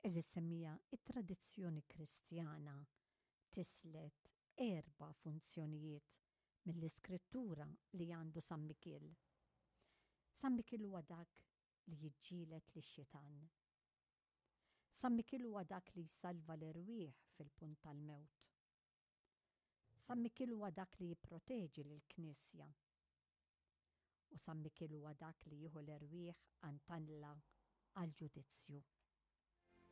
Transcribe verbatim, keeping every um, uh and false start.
Għeżież semmiegħa, it-tradizzjoni Kristjana tislet erba' funzjonijiet mill-Iskrittura li għandu San Mikiel. San Mikiel huwa dak li jiġġieled lix-xitan. San Mikiel huwa dak li jsalva l-erwieħ fil-punt tal-mewt. San Mikiel huwa dak li jipproteġi lill-Knisja. U San Mikiel huwa dak li jieħu l-erwieħ għand Alla għall-ġudizzju.